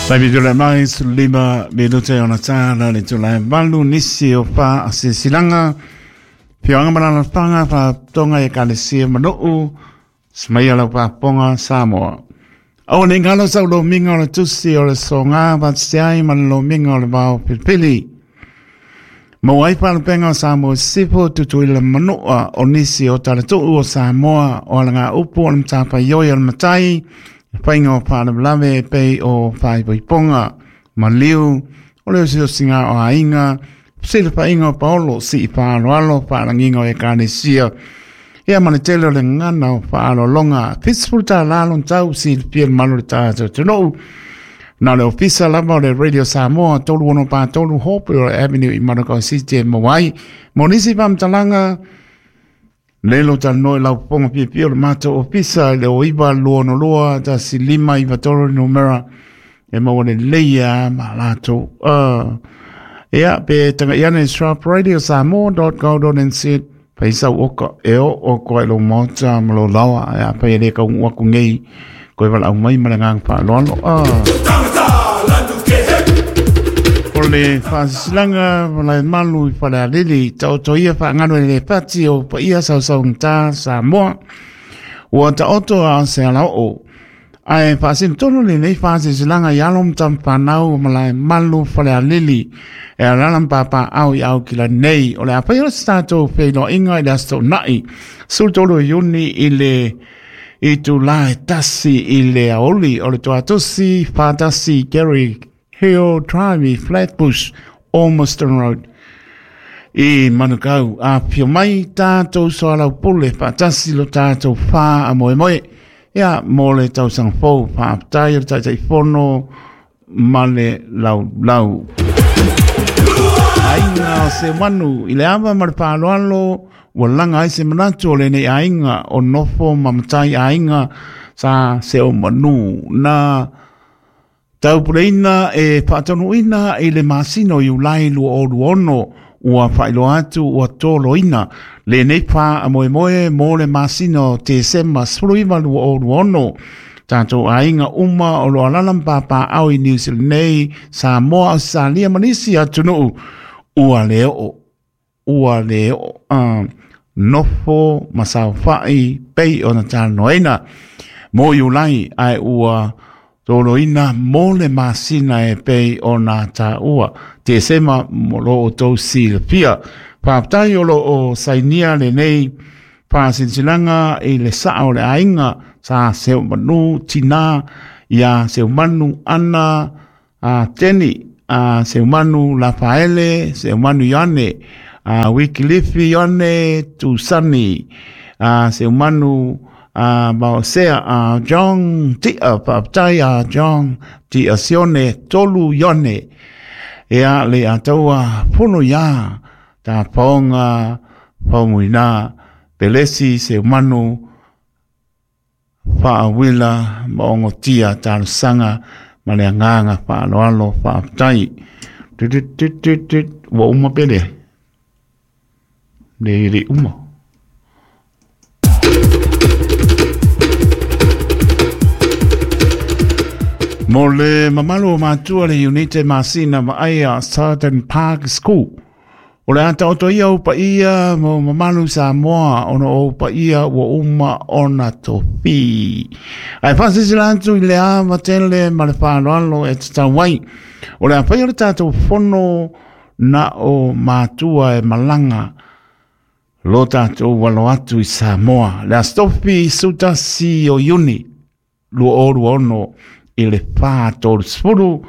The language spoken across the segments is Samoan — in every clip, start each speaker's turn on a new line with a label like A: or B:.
A: Taimi tula mai 15 minute ona tāna le tula e malu nisi o wha asisilanga. Pioanga malala whanga wha tonga e kalesia manuu. Smaia lau whaponga Samoa. O ne ngalo sau lo minga o le tusi o le songa vatseai ma le lomiga o le vao pilipili. Maua ai faalupega o Samoa Sisifo Tutuila ma Manua o nisi o talatuu o Samoa o alagaupu o le matafaioi a le matai, le faiga o faalavelave e pei o faaipoipoga, maliu, o le osiosiga o aiga, fesilafaiga o paolo, sii faaaloalo, faalagiga o ekalesia, ia ma le tele o le gagana o faaaloaloga. $70 lona tau silafia le malu o le tatou atunuu. Na o le ofisa lava o le Radio Samoa 3643 Hopewell Avenue i Manukau City e maua ai. Mo nisi faamatalaga, lelo talanoa i lau popoga piapia o le matou ofisa i le 0922 1593 numera e maua lelei a ma latou. Ia, pe tagai ane sharpradiosamoa.co.nz fai sau oka e o o koa i lou maota ma lou laoa e a fai e le kaunuu aku nei koe valaau mai ma le agaga faaaloalo. O le faasisilaga malae malu i Falealili taoto ia faagalo e le pati o paia sausaugata Samoa ua taoto a o se alaoo Ae faasinotonu lenei faasilasilaga i alo ma tamafanau o Malaemalu Falealili e alaala ma papaaao i Aukilani nei. O le a faia se tatou feiloaiga i le Aso Toonai 13 o Iuni i le itula e 1 i le aoauli o le Tuatosi 41 Gary Hill Drive i Flatbush, Ormiston Road i Manukau. Afifio mai tatou soalaupule faatasi lo tatou faamoemoe. Ia, mo le tausaga fou, faafetai o le Taitaifono ma le laulau. Aiga o Seumanu i le ava ma le faaaloalo ua laga ai se manatu o lenei aiga o nofo ma matai aiga sa Seumanu na Taupuleina e faataunuuina i le masina o Iulai 2026, ua faailoa atu ua toloina lenei faamoemoe mo le masina o Tesema 19 2026. Tatou aiga uma o lo o alaala ma papaaao i Niu Sila nei, Samoa, Ausetalia ma nisi atunuu, ua le oo ua le oo nofo ma saofai pei ona talanoaina mo Iulai ae ua toloina mo le masina e pei ona taua Tesema mo lo outou silafia. Faafetai o lo o sainia lenei faasilasilaga i le saa o le aiga sa Seumanu Tina ia Seumanu Ana a Teni, a Seumanu Lafaele, Seumanu Ioane, a Wikilifi Ioane Tusani, a Seumanu a Maosea, a John Tia, faafetai a John Tia Sione, Tolu Ioane, ia le ataua pono ia ta paonga faumuina Pelesi Seumanu Faauila ma ogotia talosaga ma le agaga faaaloalo faafetai. Tut-tut-tut-tut, ua uma pe leai? Le le uma. Mo le mamalu o matua le Unite Masina Vaaia Southern Park School. O le a taoto ia ou paia ma ou mamalu Samoa ona o ou paia ua uma ona tofi. Ae faasilasila atu i le ava tele ma le faaaloalo e tatau ai. O le a faia le tatou fono na o matua e malaga lo tatou alo atu i Samoa. Le Aso Tofi 11 o Iuni 2026 i le 4:30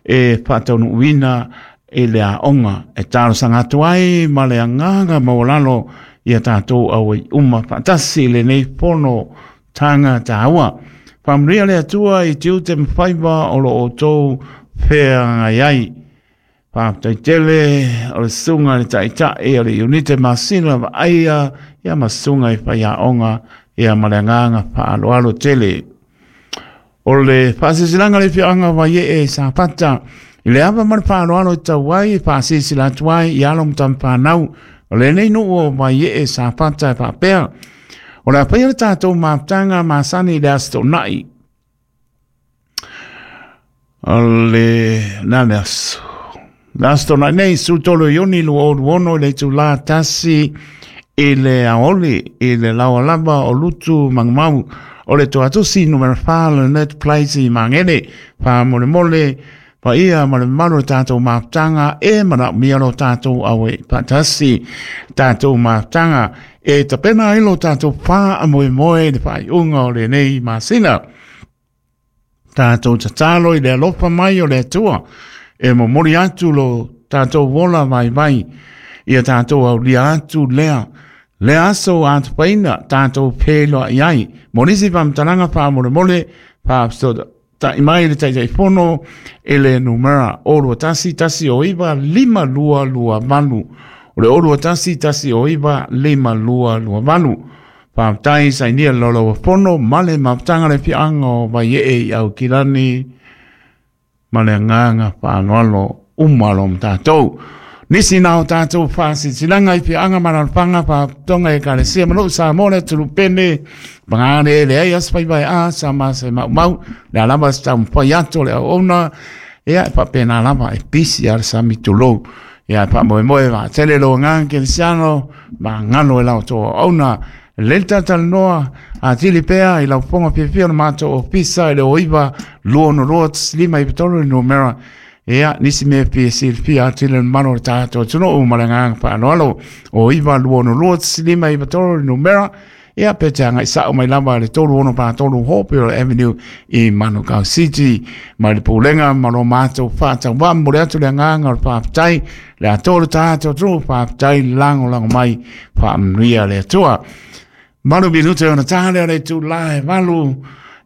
A: e faataunuuina i le aoga e talosaga atu ai ma le agaga maualalo ia tatou auai uma faatasi i lenei fono taga taua. Faamanuia le Atua i tiute ma faiva o lo outou feagai ai. Faafetai tele o le susuga i le Taitai o le Iunite Masina Vaaia ia ma susuga i faiaoga ia ma le agaga faaaloalo tele. O le faasilasilaga le afioaga o Vaiee i Safata i le ava ma le faaaloalo e tau ai e faasilasila atu ai i alo ma tamafanau o lenei nuu o Vaiee Safata e faapea, o le a faia le tatou mafutaga masani i le Aso Toonai. O le na le aso. Le aso tona nei, 13 o Iuni 2026 i le itulā 1 i le aoauli i le laoa lava o Lutu Magumau o le Toatusi numera 4 Lynette Place i Magele. Faamolemole paia ma le mamalu o le tatou mafutaga e manaomia lo tatou auai faatasi. Tatou mafutaga e tapena ai lo tatou faamoemoe i le faaiuga o lenei masina. Tatou tatalo i le alofa mai o le Atua e momoli atu lo tatou ola vaivai ia tatou aulia atu lea lea aso atupaina tatou feiloai ai. Mo nisi faamatalaga faamolemole faafesootai mai le Taitaifono i le numera 021 109 5228. O le 021 109 5228. Faafetai sainia le laulauafono ma le mafutaga le afioaga o Vaiee i Aukilani ma le agaga faaaloalo uma lo tatou. Nisi na o tatou faasilasilaga i afioaga ma alaalafaga faalapotopotoga ekalesia ma nuu Samoa le atunuu pele pagane leai aso faiva e a sa ma se maumau le a lava se taumafai atu o le auauna ia e faapena lava e pisi a le sami tulou. Ia e faamoemoe vaatele lo agaga kerisiano ma galo e lau outou auauna. Lelei le talatalanoa atili pea i lau fofoga fiafia o le matou ofisa i le 09 262 1593 le numera. Ia, nisi mea fia silafia atili le mamalu o le tatou atunuu ma le agaga faaaloalo. 09 262 1593 le numera. Ia, pe te agai sao mai lava le 3643 Hopewell Avenue i Manukau City. Mai le pulega ma lo matou faatauvaa momoli atu le agaga o le faafetai le atoa o le tatou atunuu, faafetai lagolago mai, faamanuia le Atua. 8 minute ona ta lea o le itula e 8.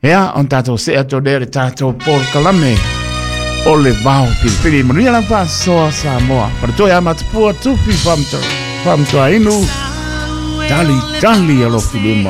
A: Ia, ona tatou see atu lea i le tatou polokalame o le vao filifili. Manuia lau faasoa Samoa. Faletua ia Matapua, Tufi Faamatuainu, tali tali alofi lima.